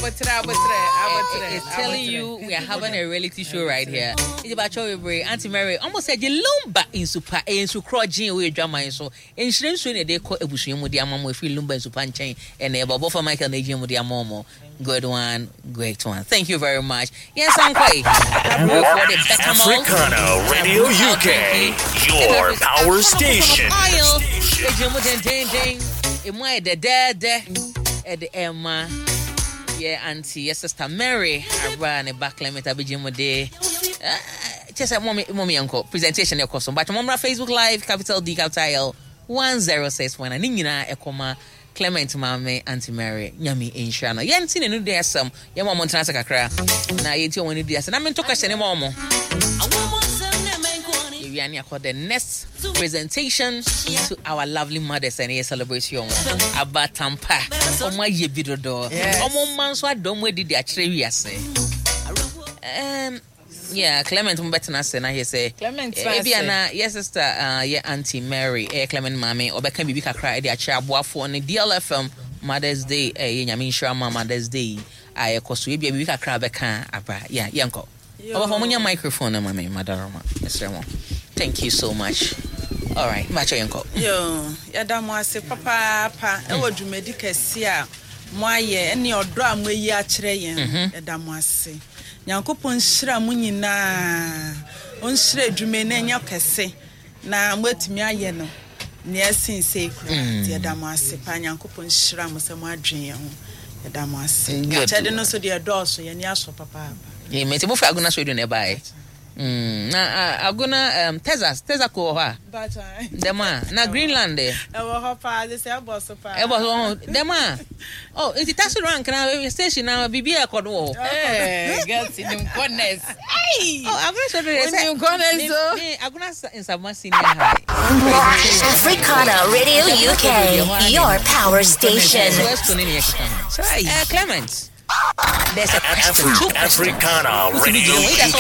Abotre, abotre, abotre. It's telling you we are having a reality show right here. Nti bakyɛ bebree, Auntie Mary, ɔmo sɛ gye Lumba nsupa, ɛyɛ nsu korɔgyen wɔ adwaman so. Nhyira nsuo na yɛde kɔ abusua mu de ama mo ɛfiri Lumba nsupa nkyɛn ɛna ɛba. Ɔbɔfoɔ Michael na ɛgyina mu de ama ɔmo. Good one, great one. Thank you very much. Yɛn san kɔ yi. Akaburofoɔ de better malt. Africana Radio UK, your power station. Oil. Ɛgyina mu dendenden. Emu ayɛ dɛdɛɛdɛ. Ɛde ɛma yɛ auntie, yɛ sister Mary abra ne ba Clement abɛgyina mu de. Kyɛ sɛ mɔmi mɔmi yɛnkɔ presentation ɛkɔ so. But mɔmra Facebook Live capital D capital L 106.9 ne nyinaa ɛkɔ ma Clement maame Auntie Mary Nyame nhyira no. Yɛnte n'anu de asɛm. Yɛma ɔmo ntena ase kakra na yɛnti ɔmo ani di ase. Na mento question ma ɔmo. Yɛwia ne akɔ the next presentation to our lovely mothers and yɛ celebrate ɔmo. Aba tampa. Ɔmo ayɛ bi dodo. Ɔmo mma nso adɔ ɔmo adi de akyerɛ wiase. Yeah, Clement mo bɛtena ase na yɛ sɛ Clement tena ebi ase. ana yɛ sister yɛ Auntie Mary ɛyɛ Clement maame ɔbɛka biribi kakra ɛde akyerɛ aboafoɔ ne DLFM Mother's Day ɛyɛ Nyame nhyira ma Mother's Day a ɛkɔ so ebi biribi kakra bɛka aba yeah yɛnkɔ ɔbɛfɔ mo nya microphone no ma me madaroma mesrɛ mo. Thank you so much. All right, makyɛ yɛnkɔ. Yo, yɛda mo ase papaapa ɛwɔ dwumadi kɛse a mo ayɛ ɛne ɔdɔ a mo ayi akyerɛ yɛn. Yɛda mo ase. Nyankopɔn nhyira mo nyinaa. Ɔnhyira adwuma yi na ɛnyɛ kɛse na moatumi ayɛ no nea ɛsen sei koraa. Nti yɛda mo ase paa. Nyankopɔn nhyira mo sɛ moadwen yɛn ho. Yɛda mo ase. Akyɛde no nso deɛ ɛdɔɔso, yɛn ani asɔ papaapa. Amen. Nti mofiri Agona Sweden na ɛbaeɛ? Na Agona Texas, Texaco wɔ hɔ a? Dɛm a. Na Greenland ɛ? Ɛwɔ hɔ paa, de sɛ ɛbɔ so paa. Ɛbɔ so hɔ. Dɛm a. Oh, nti taxi rank na station na biribi a ɛkɔ do wɔ hɔ. Hey, girls in them corners. Hey. Oh, Agona Sweden sɛ. In them corners o. Me Agona Nsaboma Senior High. Africana Radio UK, your power station. Clement. There's a question, two questions. Africana Radio UK,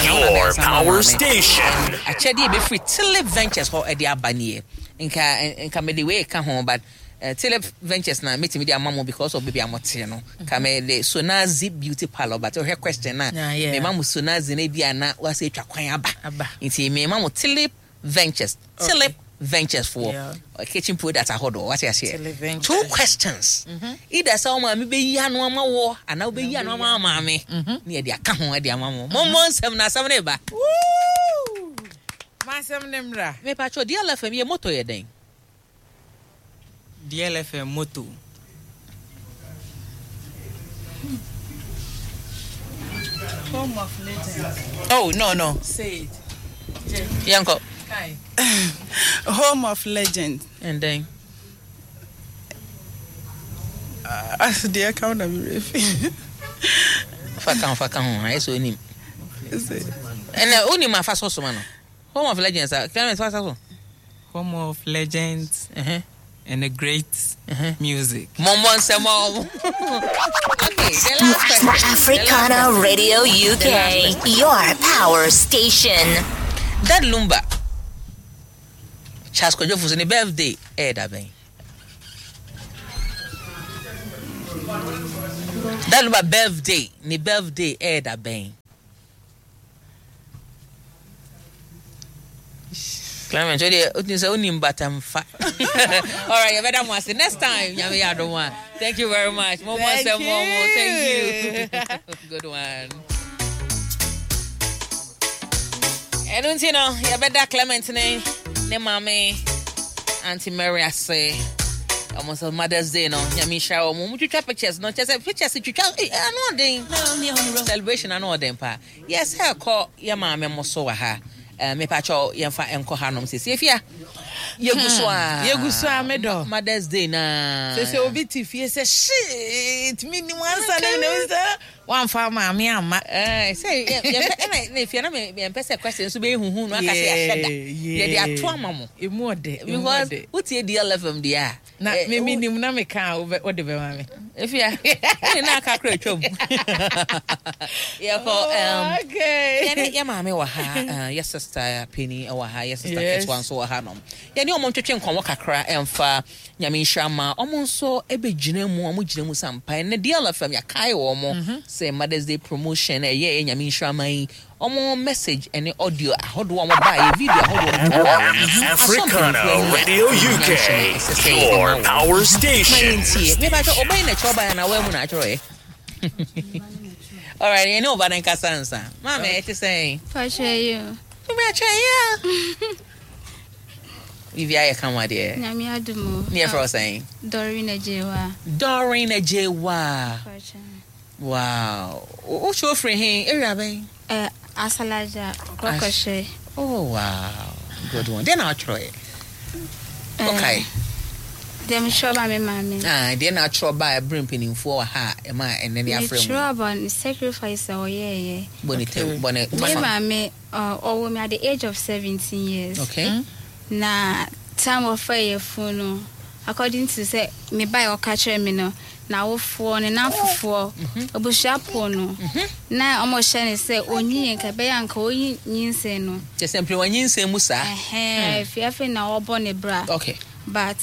your power station. Akyɛdeɛ ebɛfiri Tilip Ventures hɔ ɛde aba nie. Nka nka mede wei ka ho but Tilip Ventures na metumi de ama mo because of baabi a mote no. Ka mede Sonazi Beauty Parlor but wohwɛ question na mema mo Sonazi na ebi a na wasa atwa kwan aba. Nti mema mo Tilip Ventures. Tilip Ventures for kitchen product ahodoɔ wate aseɛ. Two questions. Either sɛ wo maame bɛyi ano ama wɔ anaa wobɛyi ano ama maame ne yɛde aka ho de ama mo. Mommɔ nsɛm na asɛm no ba. Masɛm ne mmra. Mepakyɛw DLFM yɛ moto yɛ dɛn? DLFM moto. Home of legends. Oh, no. Say it. Yɛnkɔ. Home of legends. And then? Deɛ ɛka wo na me refi. Fa ka ho, fa ka ho. Ayɛ sɛ onim. Ɛnna onim afa so soma no. Home of legends. Clement fa so. Home of legends. And a great music. Momo nsɛm a Okay, the last question. Africana Radio UK, your power station. Dad Lumba, Charles Kwadwo Fosu, ne birthday ɛyɛ da bɛn? Dad Lumba birthday, ne birthday ɛyɛ da bɛn? Clement, o deɛ o sɛ wonim bata mfa. All right, yɛbɛda mo ase next time. Nyame yɛ adom a. Thank you very much. Mo mo nsɛm mo mo. Thank you. Good one. Ɛno nti no, yɛbɛda Clement ne ne maame Auntie Mary ase. Ɔmo sɛ Mother's Day no, Nyame nhyira wɔn. Mo twitwa pictures no, kyerɛ sɛ pictures twitwa, eh, ano ɔden. Celebration ano ɔden paa. Yes, ɛkɔ yɛ maame mo so wɔ ha. Mepakyɛw yɛmfa nkɔ hanom sisi efia. Yegu so a. Yegu so a me dɔ. Mother's Day na. Sɛ sɛ obi te fie sɛ shit me nim ansa na me sɛ wamfa maame amma. Eh, sɛ yɛmpɛ ɛna na efia na me yɛmpɛ sɛ question nso bɛyɛ huhu no aka sɛ yɛahyɛ da. Yɛde ato ama mo. Emu ɔdɛ. Because wotie DLFM deɛ a. Na me me nim na me ka a wode bɛma me. Efia, ne na aka kora atwam. Yɛkɔ yɛne yɛ maame wɔ ha, yɛ sister panyin wɔ ha, yɛ sister ketewa nso wɔ ha nom. Yɛne ɔmo ntwetwe nkɔmmɔ kakra ɛmfa Nyame nhyira ma ɔmo nso ɛbɛgyina mu, ɔmo gyina mu sampa. Ɛnɛ DLFM yɛakae wɔ mo sɛ Mother's Day promotion ɛyɛ ɛyɛ Nyame nhyira ma yi. Ɔmo message ɛne audio ahodoɔ a ɔmo baayɛ, video ahodoɔ a ɔmo twa baayɛ no, asɔ Africana mpanimfoɔ ani a Radio ɛnyam UK, hyɛ no ɛsɛ sɛ yɛde ma your wɔn. power Ma station. yɛntie. Mepa kyɛ ɔbɛn na kyerɛ ɔbaa anaa wɔamu na atwerɛeɛ? Alright, yɛne ɔba no nkasa nsa. Maame, ɛte sɛn? Pakyɛ yi o. Mepakyɛ yi a. Biribi ayɛ kama deɛ. Nyame adom o. Ne yɛfrɛ wo sɛn? Doreen Agyewa. Doreen Agyewa. Pakyɛ. Wow. Wokyɛ ofiri he? Area bɛn? Eh, Asalaja, Kɔkɔhyɛ. Oh wow. Good one. Deɛ na atwerɛ? Okay. Deɛ metwerɛ ba me maame. Ah, deɛ na atwerɛ ba ɛberɛ mpanimfoɔ wɔ ha a ɛma ɛnɛ ne afrɛ mu. Metwerɛ about ne sacrifice a ɔyɛɛyɛ. Bɔ ne tɛw, bɔ ne Me tɔfa. maame, ɔwɔ me at the age of 17 years. Okay. Na time ɔfa yɛ funu no, according to sɛ me ba a ɔka kyerɛ me no, n'awofoɔ ne n'afofoɔ, abusuafoɔ no, na ɔmo hyɛ ne sɛ onyi yɛ nka ɛbɛyɛ anka onyi nyinsɛn no. Kyɛ sɛ mpere wanyinsɛn mu saa. Ɛhɛn, efi na ɔbɔ ne bra. Okay. But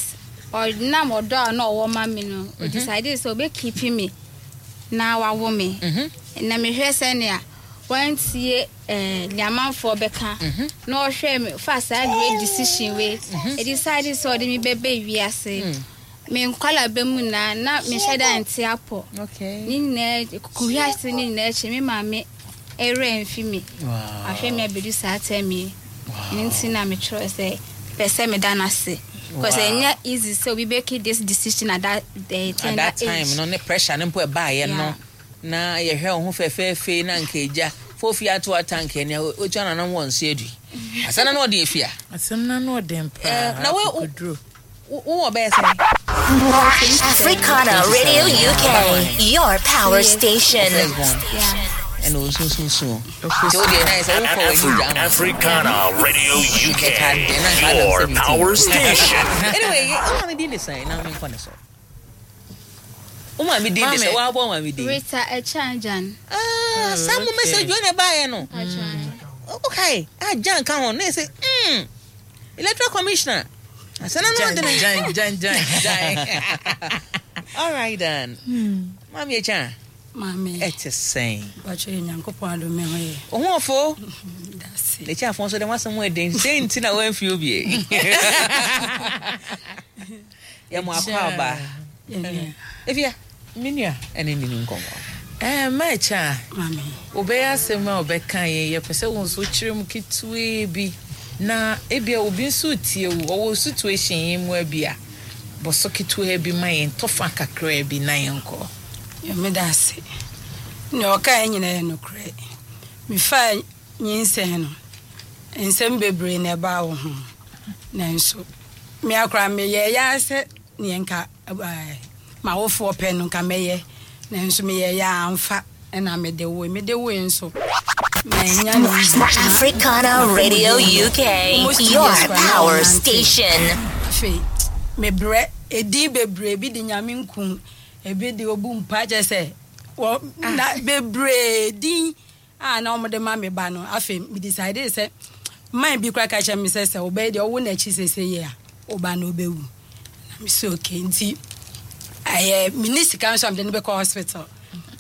ɔnam ɔdɔ a na ɔwɔ ma me no, o decide sɛ ɔbɛ keep me na wawo me. Na mehwɛ sɛnea wantie nea amanfoɔ bɛka na ɔhwɛ me fa saa great decision wei. E decide sɛ ɔde me bɛbɛ wiase. Me nkwala bɛ mu na mehyɛ da nte apɔ. Okay. Ne nyinaa kuhwiase ne nyinaa akyi me maame ɛwerɛ mfi me. Wow. Ahwɛ me abedu saa term yi. Ne nti na metwerɛ sɛ pɛ sɛ meda no ase. Because Wow. ɛnyɛ easy sɛ obi bɛki this decision at that At tender that time age. no ne pressure ne mpo ɛbaayɛ no Yeah. na yɛhwɛ wo ho fɛfɛɛfɛ na nka agya fofi ato atank ne otu ananam wɔ nso adui. Asana na ɔde afia. Asɛm na no ɔden paa. Na wo wɔ bɛyɛ sɛn? Africana Radio UK, your power station. Yeah. Ɛna osunsunsun. Nti wo deɛ na yɛ sɛ wokɔ w'ani gya ama. Africana Radio UK, your power station. Anyway, wo maame din de sɛn na menkɔ ne so. Wo maame din de sɛ woabɔ wo maame din. Rita Echanjan. Ah, saa mo message wei na ɛbaeɛ no. Okay, ah, Jan ka ho na yɛ sɛ, electoral commissioner. Asana no ɔde ne. Jan, jan, jan, jan. All right then. Maame Echan. Maame. Ɛte sɛn? Bàtchɛ yɛ Nyankopɔn adom me ho yɛ. Wo ho ɔfo? Dase. N'akyi afɔ nso dɛm asɛm ɛden. Sɛ nti na wɔamfi obie. Yɛ mo akɔ aba. Efia. Me nua. Ɛne ne ni nkɔmmɔ. Ma Echa. Maame. Wobɛyɛ asɛm a wobɛka yɛ yɛpɛ sɛ wo nso kyerɛ mu ketewee bi na ebia obi nso tie wo ɔwɔ situation yi mu abi a bɔ so ketewee bi ma yɛn tɔfa kakraa bi na yɛnkɔ. Meda ase. Nea ɔka yɛ nyinaa yɛ nokorɛ. Mefaa nyinsɛn no, nsɛm bebree na ɛbaa wo ho. Nanso, me akora meyɛɛ yɛ sɛ neɛ nka m'awofoɔ pɛ no nka mɛyɛ. Nanso meyɛɛ yɛ amfa ɛna mede woe. Mede woe nso, manya no easy. Africana Radio UK, your power station. Afei, mebrɛ edin bebree bi de Nyame nku, ebi de obu mpa kyerɛ sɛ wɔ na bebree din a na wɔde ma me ba no. Afei, me decide sɛ man bi kora ka kyerɛ me sɛ wobɛyɛ deɛ ɔwo n'akyi sese yɛ a woba na wobɛwu. Na me sɛ okay, nti ɛyɛ me ni sika nso a mede no bɛkɔ hospital.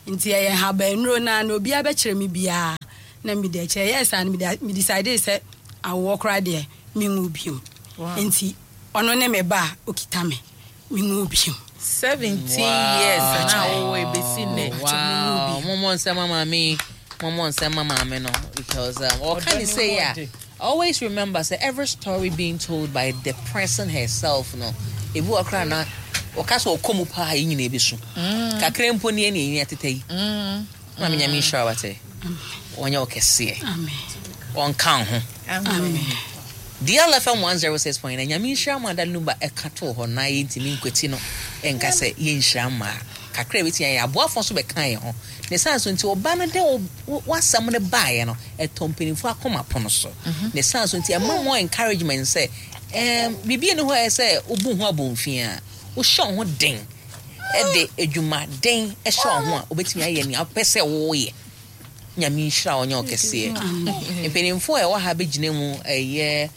Nti ɛyɛ habanuro na na obiara bɛkyerɛ me biara na mede akyerɛ. Ɛyɛ saa no me decide sɛ awoɔ koraa deɛ menwu biom. Nti ɔno ne me ba a okita me menwu biom. 17 years na wowɔ ebesi nnɛ. Wow. Momo nsɛm ama me. Momo nsɛm ama me no because what can you say yeah? Always remember say every story being told by the person herself no. Ebu akra na ɔka sɛ ɔkɔ mu paa yi nyina ebi so. Kakra mpo ne ne nyina tete yi. Ma me Nyame nhyira wate. Ɔnyɛ ɔkɛseɛ. Amen. Ɔnka ho. Amen. DLFM 106.9 Nyame nhyira ma da number ɛka to hɔ na yɛntimi nkwati no ɛnka sɛ yɛnhyira ma kakra bɛti yɛn aboafo nso bɛka yɛn ho ne san so nti ɔba no de wasɛm no baeɛ no ɛtɔ mpanimfoɔ akoma pono so ne san so nti ɛma mo encouragement sɛ biribi ne hɔ a ɛsɛ wobu ho abɔmfia a wohyɛ wo ho den ɛde adwumaden ɛhyɛ wo ho a wobɛtumi ayɛ nea wopɛ sɛ woyɛ. Nyame nhyira ɔnyɛ ɔkɛseɛ. Mpanimfoɔ a ɛwɔ ha bɛgyina mu ɛyɛ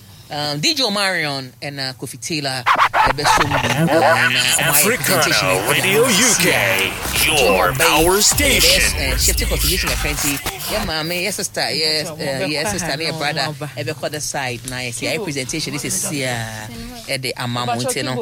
DJ Omarion ɛna Kofi Taylor. ɛbɛsɔ mu bi na ɔmo ayɛ presentation Africana ɛde Radio ama UK, sisi a. your power station. Shifting contribution kakra nti yɛ maame yɛ sister yɛ yɛ sister ne yɛ brother ɛbɛkɔ the side na yɛ sɛ ayɛ presentation ne sisi a ɛde ama mo nti no.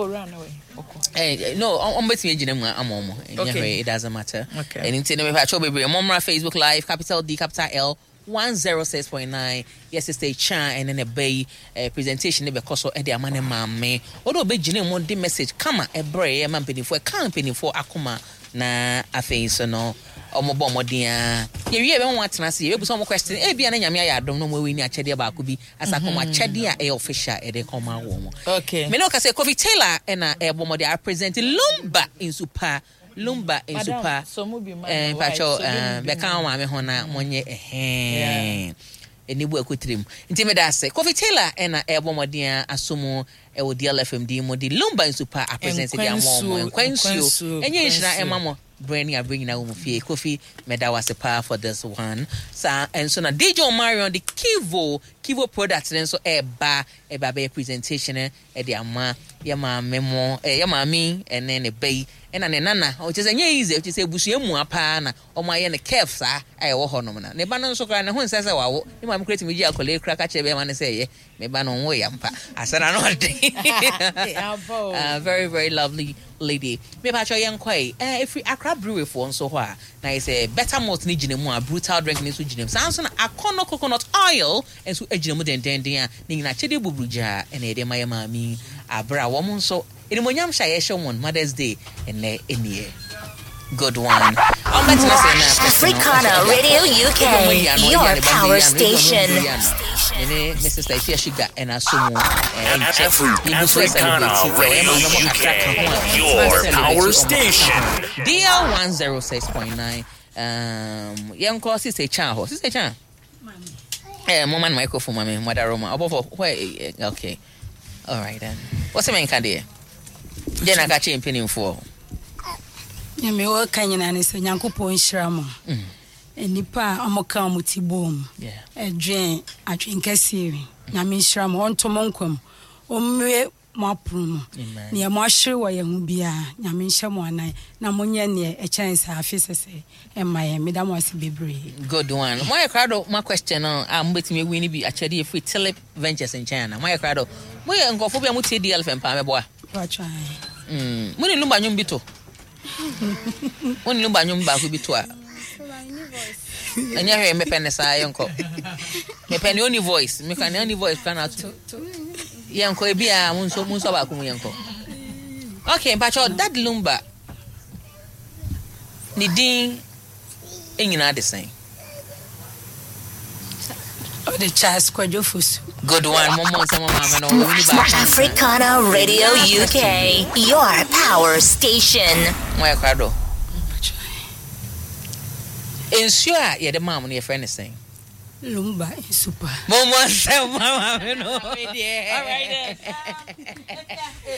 No, ɔmo bɛtumi agyina mu ama ɔmo. Ɛnyɛ hwee, it doesn't matter. Ɛno nti no mepa kyɛw bebree mommra Facebook live capital D capital L 106.9 yɛ sister Chan ɛne ne ba yi presentation ne bɛkɔ so ɛde ama ne maame. Ɔde ɔbɛgyina mu de message kama ɛbrɛ yɛ ma mpanimfoɔ ɛka mpanimfoɔ akoma na afei nso no ɔmo bɔ mmɔden a yɛwie yɛbɛma wɔn atena ase yɛbɛbusa ɔmo question ebia na Nyame ayɛ adom na ɔmo awi ne akyɛdeɛ baako bi asa kɔm akyɛdeɛ a ɛyɛ official ɛde kɔma wɔn. Okay. Me ne ɔka sɛ Kofi Taylor ɛna ɛbɔ mmɔden a represent Lumba Nsupa Lumba Nsupa mpakyɛw bɛka wɔn maame ho na monyɛ ɛhɛn ɛni bu akutiri mu nti meda ase Kofi Taylor ɛna ɛbɔ mmɔden a aso mu ɛwɔ DLFM din mu de Lumba Nsupa apresent de ama wɔn nkwa nsuo ɛnyɛ nhyira ɛma mo berɛ ne aberɛ nyinaa wɔ mu fie. Kofi meda wo ase paa for this one. Saa nso na DJ Omarion de Kivo Kivo product no nso ɛreba ɛba bɛyɛ presentation ɛde ama yɛ maame mo yɛ maame ɛne ne ba yi ɛna ne nana. Ɔkyɛ sɛ ɛnyɛ easy, ɔkyɛ sɛ abusua mua paa na wɔn ayɛ no curve saa a ɛwɔ hɔ nom na ne ba no nso koraa ne ho nsɛ sɛ wawo. Ne maame koraa tumi gye akwadaa yi koraa ka kyerɛ bɛrima no sɛ ɛyɛ me ba no nwo yɛ mpa asɛ na no ɔden. Very very lovely lady. Me pa kyɛ yɛn kɔ yi ɛfiri Accra Brewery foɔ nso hɔ a na yɛ sɛ better malt ne gyina mu a brutal drink ne nso gyina mu saa nso na Akɔnɔ coconut oil nso gyina mu dendenden a ne nyinaa akyɛdeɛ buburu gyaa ɛna yɛde ma yɛ maame abere a wɔn nso animuonyam hyɛ a yɛhyɛ wɔn Mother's Day ɛnɛ ɛnie. Good one. Africana Radio UK, your power station. Mene me sister Ifia Sugar ɛna so mu Africana Radio UK, your power station. DL 106.9. Yɛnkɔ Sister Chan hɔ. Sister Chan. Mama no microphone mami, mother Roma. Obofo, where? Okay. All right then. What's the main card? Then I got you in pinning for. Nyame wɔka nyina ne sɛ Nyankopɔn nhyira mo. Nnipa a ɔmoka ɔmo ti bom ɛdwen adwen kɛseɛ wi. Nyame nhyira mo, ɔnto mo nkwa mu, ɔmmue mo apono mu. Neɛ mo ahwere wɔ yɛn ho biara, Nyame nhyɛ mo anan na monyɛ neɛ ɛkyɛn saa afe sɛsɛ ɛma yɛn. Meda mo ase bebree. Good one. Mo ayɛ krado ma question no a mobɛtumi awi no bi akyɛdeɛ firi Tulip Ventures nkyɛn ana? Mo ayɛ krado. Moyɛ nkurɔfoɔ bi a motie DLFM paa mɛboa. Mo ne Lumba nnwom bi to. Mo ne Lumba nnwom baako bi to a. Ɛnyɛ hwee mepɛ ne saa yɛnkɔ. Mepɛ ne only voice. Meka ne only voice kora na ato. Yɛnkɔ ebi a mo nso baako mu yɛnkɔ. Okay, mpakyɛw Dad Lumba ne din nyinaa de sɛn? Ɔde Charles Kwadwo Fosu. Good one. Momo nsɛm maame no ɔwɔ ni baako. Africana Radio UK, your power station. Mo yɛ krado. Nsuo a yɛde maa mo no yɛfrɛ ne sɛn? Lumba Nsupa. Momo nsɛm maame no.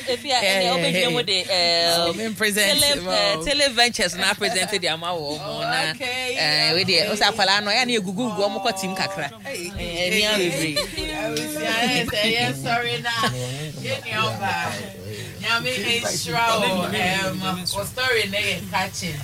Efi a ɛnna ɔbɛgyina mu de Tele Ventures na present de ama wɔ mo na wei deɛ ɔsɛ akwadaa no ɛyɛ ne egugu gu ɔmo kɔ tim kakra ɛni abebree.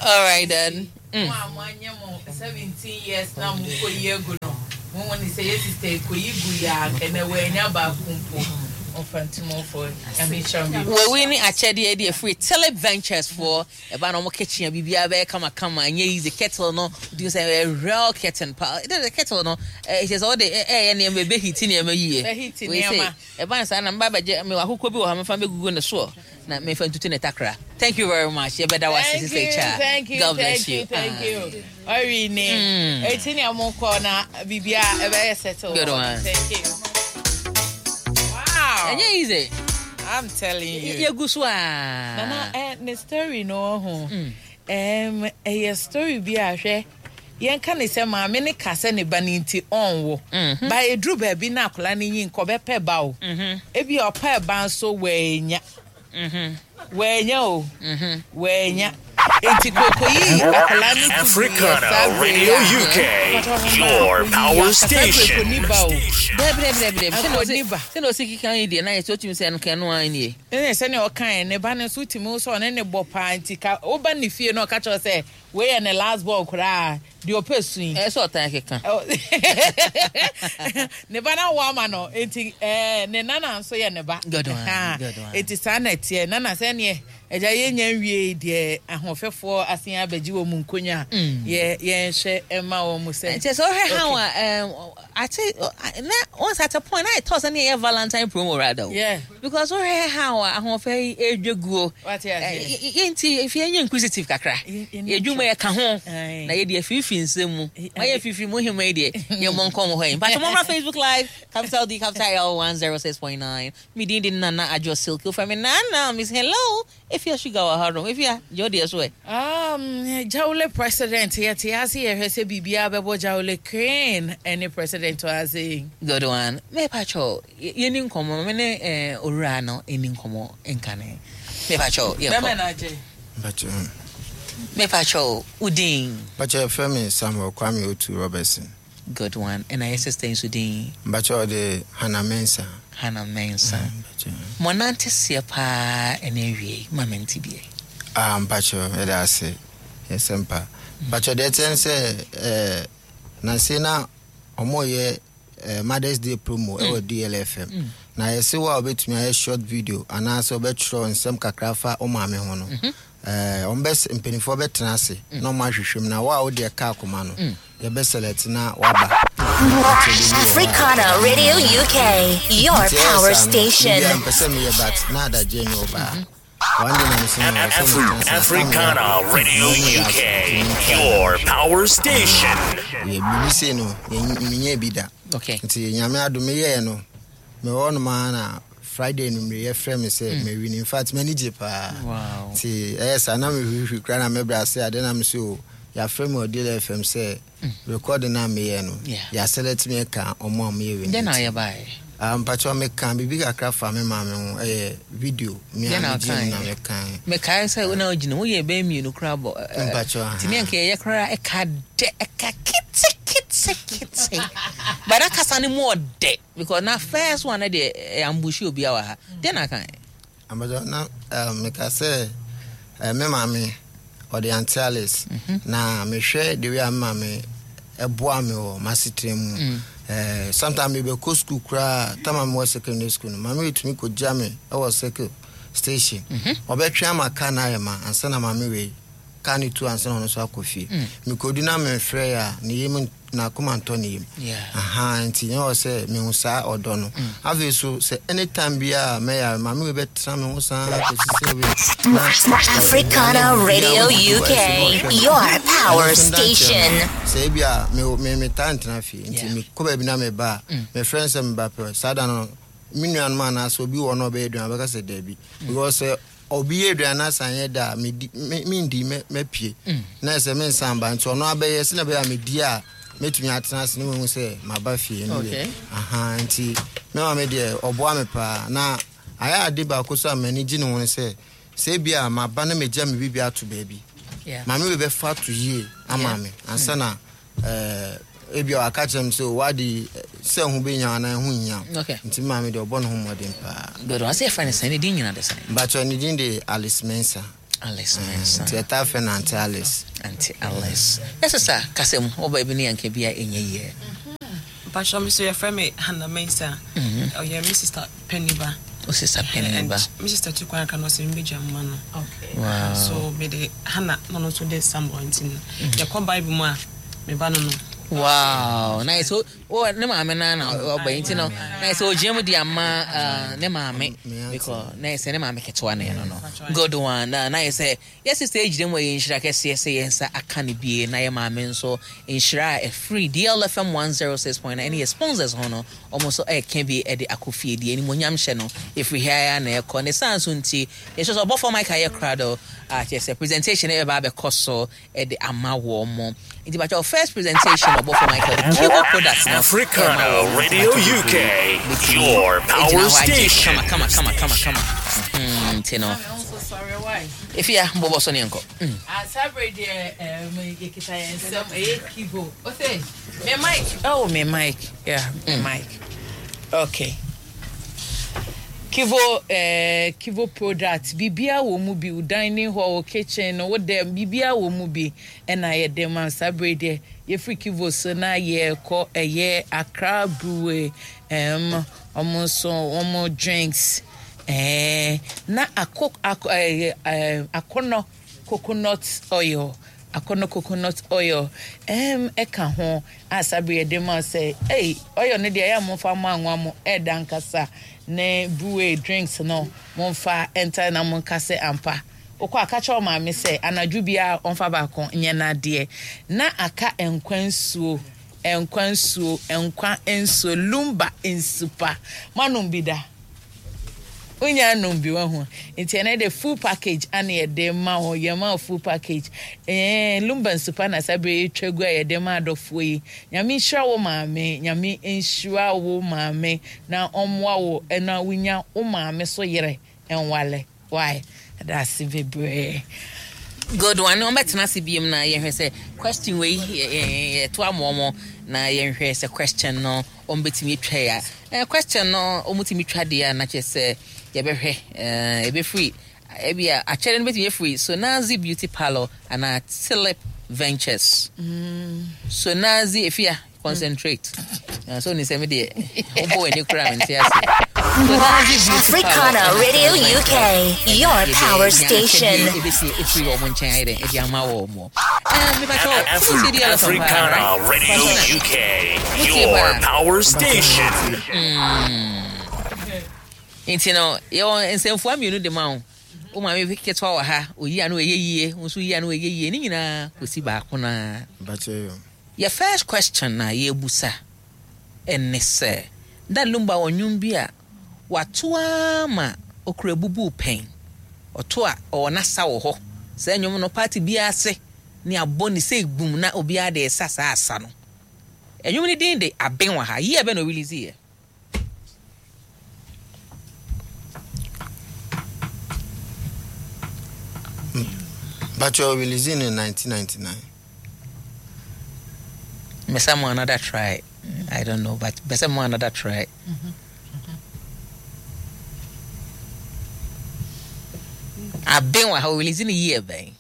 All right then. Mo a moanyɛ mo 17 years na mokɔyi agu no, mohu ne sɛ yɛ sister yi kɔyi gu yɛ a anka ɛnɛ wannya baako mpo. Mfantumfoɔ, Nyame nhyira mo bebree. Wei ne akyɛdeɛ de afiri Tulip Ventures foɔ ɛba na wɔn kitchen a biribiara bɛyɛ kamakama ɛnyɛ easy kettle no wotumi sɛ ɛyɛ real kettle pa ɛdɛ kettle no ɛkyɛ sɛ wɔde ɛyɛ nneɛma ɛbɛ hiti nneɛma yie Bɛhiti wei sɛ nneɛma. ɛba no saa na mba bɛgye mewɔ akokɔ bi wɔ ha mefa bɛgugu ne soɔ na mefa ntutu ne takra. Thank you very much. Yɛbɛda wo ase Thank Sister you, Cha. thank you, God bless thank you, you. thank Ah. you. Ori ne. Eti ne mo kɔ na bibia ɛbɛyɛ settle. Good one. Thank you. Wow. Ɛnyɛ easy. I'm telling you. Yɛgu so a. Nana, ne story no ho. Ɛyɛ story bi a hwɛ. Yɛnka ne sɛ maame ne ka sɛ ne ba ne nti ɔnwo. Ba eduru baabi na akwadaa ne nyi nkɔ bɛpɛ ba o. Ebi a ɔpɛ ba nso wanya. Wanya o. Wanya. Enti kokoyi akwadaa no to gu yɛ saa Africana bere yi Radio a. UK, your power station. Akɔni ba o. Dɛbi dɛbi dɛbi dɛbi. Akɔni ba. Sɛ na osi keka yi deɛ na yɛ sɛ otumi sɛ ɛno no ara nie. Ɛnna sɛnea ɔkae ne ba no nso wotumi wo sɛ ɔne ne bɔ paa nti ka woba ne fie na ɔka kyerɛ wo sɛ wei yɛ ne last ball koraa deɛ ɔpɛ su yi. Ɛyɛ sɛ ɔtan keka. Ne ba no awo ama no nti ɛɛ ne nana nso yɛ ne ba. Good one, Ɛha. good one. Nti saa na ɛteɛ nana sɛ neɛ agya yɛnya nwie deɛ ahoɔfɛfoɔ asen abɛgye wɔ mu nkonya a yɛ yɛnhwɛ ɛma wɔn mu sɛ. Nkyɛ sɛ wohwɛ how a ate na once at a point na ɛtɔ sɛ ne yɛ Valentine promo rather o. Yeah. Because wohwɛ how a ahoɔfɛ yi edwa guo. Wate aseɛ. Yɛnti efi yɛnyɛ inquisitive kakra. Yɛdwuma yɛ ka ho. Na yɛde afirifiri nsɛm mu. Ma yɛ firifiri mu hema yi deɛ yɛmmɔ nkɔmmɔ hɔ yi. Mpakyɛ mommra Facebook Live capital D capital L 106.9. Me din de Nana Adwo Silky. Wofrɛ me Nana Miss Hello. Efia Sugar wɔ ha nom. Efia, gye wo deɛ so ɛ. Jawule president yɛte ase yɛhwɛ sɛ biribiara bɛbɔ Jawule Crane ne president wɔ ase yi. Good one. Mepakyɛw, yɛni nkɔmmɔ. Me ne eh, owura no ɛni nkɔmmɔ nkane. Mepakyɛw, yɛnkɔ. Bɛmɛ na agye. Mpakyɛw. Mepakyɛw, wo din? Mpakyɛw, yɛfrɛ me Samuel Kwame Otu Robertson. Good one. Ɛna yɛ sister yi nso din? Mpakyɛw, ɔde Hannah Mensah. Hannah Mensah. Mɔnante seɛ paa ɛna awie ma mente bie. Ah, mpakyɛw, yɛda ase. Yɛsɛ mpa. Mpakyɛw, deɛ ɛteɛ ne sɛ, eh, nanse na ɔmo yɛ Mother's Day promo ɛwɔ DLFM. Na yɛse wo a wobɛtumi ayɛ short video anaasɛ wobɛtwerɛ nsɛm kakra fa wo maame ho no. Ɔmo bɛ mpanimfoɔ bɛtena ase na ɔmo ahwehwɛ mu na wo a wode ɛka akoma no yɛbɛ select na waba. Africana Radio UK, your Nti ɛyɛ power saa no, station. biribiara mpɛ sɛ meyɛ but na adagye ne ɔbaa. One day na mese no, ɛwɔ sɛ metena ase na Africana Radio UK, your power station. Yɛ biribi sei no menyɛ bi da. Okay. Nti nyame adom meyɛɛ no mewɔ hɔ nom ara na Friday no mmere yɛfrɛ me sɛ mawin. In fact m'ani gye paa. Wow. Nti ɛyɛ saa na mehwehwɛ koraa na mɛbrɛ ase ade na me so yɛafrɛ me wɔ Deal FM sɛ recording na meyɛ no yɛaselect me ka ɔmo a moyɛ wei. Dɛn na ɔyɛ baeɛ? Ah, mpakyɛw meka biribi kakra fa me maame ho ɛyɛ video me a Dɛn na megye mu na ɔkaeɛ? mekae. Mekae sɛ wo na wogyina woyɛ bɛyɛ mmienu koraa bɔ Mpakyɛw, aha. nti ne anka yɛyɛ koraa ɛka dɛ ɛka ketekete but na kasa no mu ɔdɛ because na first one no deɛ ɛyɛ ambush obi a wɔ ha. Dɛn na aka? Mpakyɛw na meka sɛ me maame ɔde Auntie Alice na mehwɛ the way a me maame ɛboa me wɔ m'asetena mu. Sometimes mebɛkɔ school koraa time a mewɔ secondary school no maame wetumi kɔgya me ɛwɔ circle station. Ɔbɛtwe ama car no ayɛ ma ansa na maame wei car no tu ansa na ɔno nso akɔ fie. Mekɔdu na memfrɛ a ne yam n'akoma ntɔ ne yam. Aha nti nyɛ wɔ sɛ mehu saa ɔdɔ no. Afei so sɛ anytime biara mɛyare maame wei bɛtena me ho saa kɔsi sɛ wei na Africana Radio UK, your power station. Sɛ ebi a me me metaa ntena fie nti mekɔ baabi na meba a mefrɛ no sɛ meba pɛ saa da no me nuanom anaasɛ obi wɔ no a ɔbɛyɛ aduane ɔbɛka sɛ daabi because sɛ obi yɛ aduane na asan yɛ da a medi me mendi mɛ mɛpie na ɛsɛ mensan ba nti ɔno abɛyɛ sɛ na ɛbɛyɛ a medi a mɛtumi atena ase na mahu sɛ maba fie no Okay. deɛ aha nti me maame deɛ ɔboa me paa na ayɛ ade baako so a m'ani gye ne ho ne sɛ sɛ ebi a maba na megya me biribi ato baabi maame wei bɛfa ato yie ama me ansa na ebi a waka kyerɛ me sɛ wade sɛ ho bɛnya anaa ho nhia. Okay. Nti me maame deɛ ɔbɔ ne ho mmɔden paa. Good. Ɔsɛ yɛfrɛ no sɛn? Ne din nyina de sɛn? Mpakyɛ ne din de Alice Mensah. Alice Mensah. Nti ɛtaa frɛ no Auntie Alice. Auntie Alice. Yɛ sesa kasa mu ɔba bi ne yanka bi a ɛnyɛ yie. Mpakyɛ me so yɛfrɛ me Hannah Mensah. Ɔyɛ me sister panyin ba. O sister panyin ba. And me sister tu kwan aka no ɔsɛ mbɛgya mma no. Okay. Wow. So me de Hannah na ɔno nso de Samuel nti no. Yɛkɔ Bible mu a me ba no no. Wow. Nice. So, oh, ne maame na na ɔba nti no. Nice. So ogyina mu de ama ne maame because na sɛ ne maame ketewa na ɛno no. Good one. Na na sɛ yɛ sister gyina mu a yɛ nhyira kɛseɛ sɛ yɛn nsa aka ne bie na yɛ maame nso nhyira a ɛfiri DLFM 106.9 ɛne yɛ sponsors ho no ɔmo nso ɛɛka bi ɛde akɔ fie deɛ animonyam hyɛ no ɛfiri ha ya na ɛkɔ ne saa nso nti yɛhyɛ sɛ ɔbɔfoɔ Mike ayɛ krado a kyerɛ sɛ presentation ɛbɛba abɛkɔ so ɛde ama wɔn mo nti bàtɛ first presentation ɔbɔfoɔ Michael de Cuba products no Africana Radio UK, your power station. Kama kama kama kama kama nti no. Efia bɔbɔ so ne nkɔ. Saa bere deɛ yɛkita yɛn nsɛm ɛyɛ kibo. Ose me mic. Oh me mic. Yeah, me mic. Okay. Kivo Kivo product biribiara wɔ mu bi wo dining hall wo kitchen no wo dɛm biribiara wɔ mu bi ɛna yɛde ma saa bere deɛ yɛfiri Kivo so na yɛkɔ ɛyɛ Accra Brewery ɔmo nso ɔmo drinks na akɔ akɔ ɛɛ akɔnɔ coconut oil akɔnɔ coconut oil ɛka ho a saa bere yɛde ma sɛ ɛy oil no deɛ ɛyɛ a momfa mo anwa mo ɛɛda nkasa ne brewery drinks no momfa ɛnta na monka sɛ ampa wokɔ aka kyerɛ maame sɛ anadwo biara ɔmfa baako nyɛ n'adeɛ na aka nkwa nsuo nkwa nsuo nkwa nsuo lumba nsupa manom bi da wonya anom bi wahu nti ɛnɛ de full package ana yɛde ma wo yɛma wo full package lumba nsupa na saa bere yɛtwa gu a yɛde ma adɔfoɔ yi. Nyame nhyira wo maame, nyame nhyira wo maame na ɔmmoa wo na wonya wo maame so yere nwale. Why? Ɛda ase bebree. Good one. Wɔbɛtena ase biem na yɛhwɛ sɛ question wei yɛto ama wɔn na yɛnhwɛ sɛ question no wɔn bɛtumi atwa ya. Question no wɔn tumi twa deɛ a na kyerɛ sɛ yɛbɛhwɛ ɛbɛfiri ebi a akyɛdeɛ no bɛtumi afiri Sonazi Beauty Parlour anaa Tulip Ventures. Sonazi efia concentrate. So ni sɛ mi deɛ wobɔ w'ani kura mi nte ase. Sonazi Beauty Africana Parlour. Radio UK, your power station. Ebesi efiri wɔn nkyɛn ayɛ dɛ ɛde ama wɔn mo. Mepa kyɛw Africana Radio UK, your power station. Nti no yɛwɔ nsɛmfua mmienu de ma wo. Wo maame ketewa wɔ ha, oyi ano ɛyɛ yie, wo nso yi ano ɛyɛ yie, ne nyinaa kɔsi baako naa. Bakyɛ yo. Yɛ first question na yɛbusa ɛne sɛ da Lumba wɔ nnwom bi a wato ama okura bubu pɛn ɔto a ɔwɔ n'asa wɔ hɔ saa nnwom no party biara ase ne abɔ ne sɛ gbum na obiara de ɛsa saa asa no nnwom no din de aben wɔ ha yie bɛ na ɔrelease yɛ. Bakyɛ release in 1999. Mesa mo another try. I don't know, but besa mo another try. Aben wɔ ha release ne year bɛn.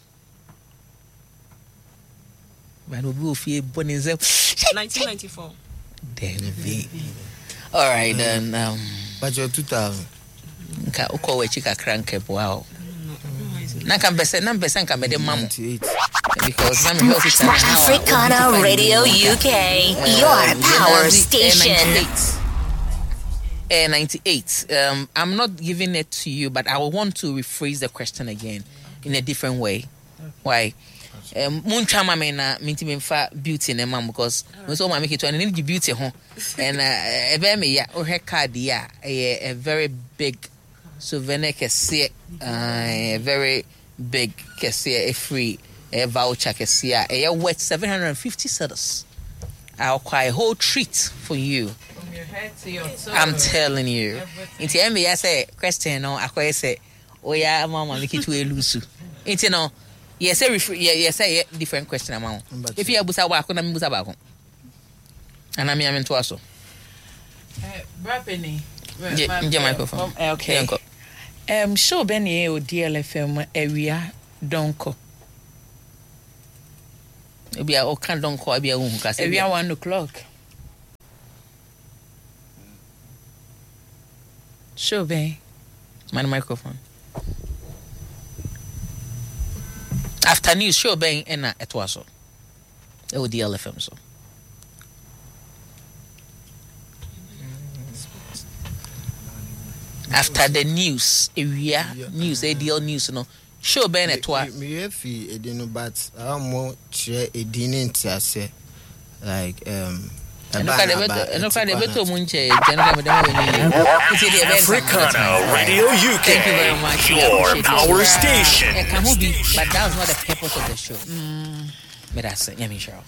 But obi wɔ fie bɔ ne nsam. 1994. Dabi. All right then. Bakyɛ 2000. Nka wokɔ w'akyi kakra nka boa o. Na nka mpɛ sɛ na mpɛ sɛ nka mɛde ma mo. Because na mehwɛ officer na how a Africana Radio UK, your power station. 98. I'm not giving it to you, but I will want to rephrase the question again in a different way. Why? Muntwa ma me na mintimi mfa beauty ne ma because mo so ma me ketewa ne ne beauty ho and ɛbɛyɛ me ya wohwɛ card yi a ɛyɛ a very big souvenir kɛseɛ, a very big kɛseɛ ɛfiri ɛyɛ voucher kɛseɛ a ɛyɛ worth 750 cedis. I'll cry a whole treat for you. From your head to your toe. I'm telling you. Nti ɛmɛ ya sɛ question no akɔyɛ sɛ oya ama maame ketewa elusu. Nti no yɛ sɛ refer yɛ sɛ yɛ different question ama wo. If yɛ busa baako na mi busa baako. Ana mi ame ntoa so. Bra Penny. Gye microphone. Okay. Yɛnkɔ. Show bɛ ne yɛ wɔ DLFM awia dɔnkɔ. Ebi a ɔka dɔnkɔ ebi a wohu kasa. Awia 1 o'clock. Show bɛn. Man microphone. After news show bɛn ɛna ɛtoa so. Ɛwɔ DLFM so. After the news, ewia news, ADL news no. Show bɛn na ɛtoa. Meyɛ fi edin no but awo kyerɛ edin ne nte aseɛ like Ɛno ka de ɛbɛtɔ mu nkyɛ nkyɛn no ka mede ma w'ani yie. Nti deɛ ɛbɛyɛ Africana Radio UK, Thank you very much. We your appreciate it. power station. Ɛka ho bi, but that was not the purpose of the show. Meda ase, Nyame nhyira wo.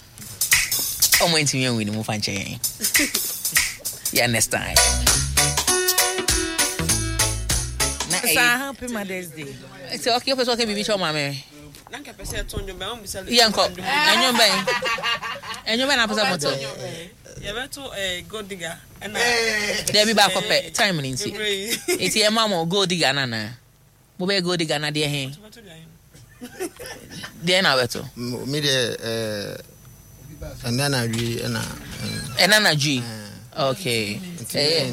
Ɔmo ntumi anwi ne mu fa nkyɛ yɛn. Yeah, next time. Na Saa ɛyɛ happy mother's day. Nti okay, wopɛ sɛ ɔka biribi kyerɛ wo maame? Na nka pɛ sɛ ɛto nnwom bɛn, wommisa no Yɛnkɔ. nnwom. Ɛnwom bɛn? Ɛnwom bɛn na apɛ sɛ moto? Yɛbɛto eh, Gold Digger ɛna Dabi baako pɛ, time no nti. Bebree. Nti ɛma mo Gold Digger no anaa? Mobɛyɛ Gold Digger na deɛ he? Deɛ na wobɛto? Me deɛ eh, ɛnɛ na awie ɛna. Ɛnɛ na adwi. Okay. Ɛyɛ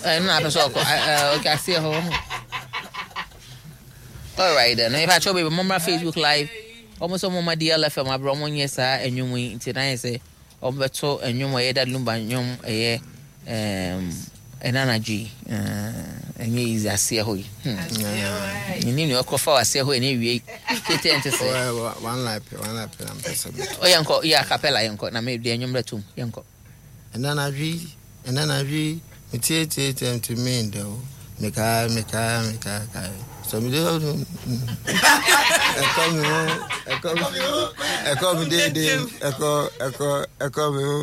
ɛno na apɛ sɛ ɔkɔ. Okay, aseɛ hɔ. All right then. If I show baby, mommra Facebook live. Ɔmo sɛ ɔmo ma DLFM abrɛ ɔmo nyɛ saa ɛnwom yi nti na yɛ sɛ ɔmo bɛto ɛnwom ɛyɛ Daddy Lumba nnwom ɛyɛ ɛɛm ɛna anadwo yi ɛnyɛ easy aseɛ hɔ yi. Menim nea ɔkɔfa wɔ aseɛ hɔ ɛna ewie tete ɛnte sɛ. One life, one life na mpɛ sɛ meto. O yɛnkɔ yɛ acapella yɛnkɔ na me deɛ nnwom bɛtom yɛnkɔ. Ɛna anadwo yi, ɛna anadwo yi, metietietie ntumi nda o. Mekae, mekae, mekae, kae. Sɛ mede ɛkɔ me ho, ɛkɔ me ho, ɛkɔ me deedee, ɛkɔ, ɛkɔ, ɛkɔ me ho.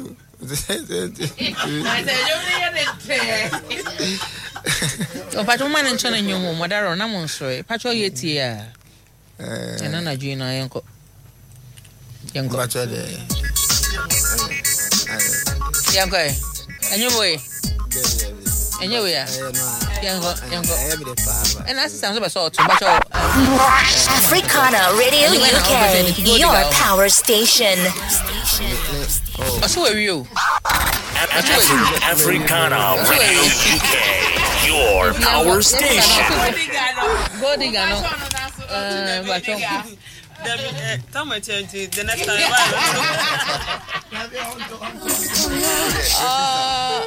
Ɔpatwa mo ma ne nkyɛn nnwom o, mɔdaro na mo nsɔre. Patwa ɔyɛ tie a. Ɛna anadwo yi na yɛnkɔ. Yɛnkɔ. Patwa deɛ. Yɛnkɔ ɛ. Ɛnyɛ wei. Ɛnyɛ wei a. Yɛnkɔ yɛnkɔ. Ɛna asesa nso bɛ sɛ ɔto patwa ɔ. Africana Radio UK, your power station. Ɔsɛ wɔ wie o. Africana Radio UK, your power station. Gold digger no. Patwa. Dabi, eh, tam ɛkyɛ nti the next time.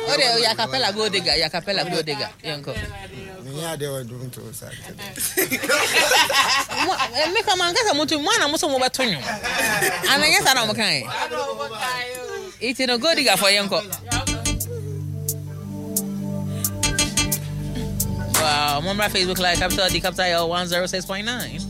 O de yɛ acapella gold digger yɛ acapella gold digger yɛnkɔ. Menyɛ adeɛ wɔ dwom to sa. Me kama nkasa mo tu mo ana mo so mo bɛto nwom. Ana nyɛ saa na mo kan. Iti no gold digger fɔ yɛnkɔ. Wow, mommra Facebook Live, Capital D, Capital L 106.9.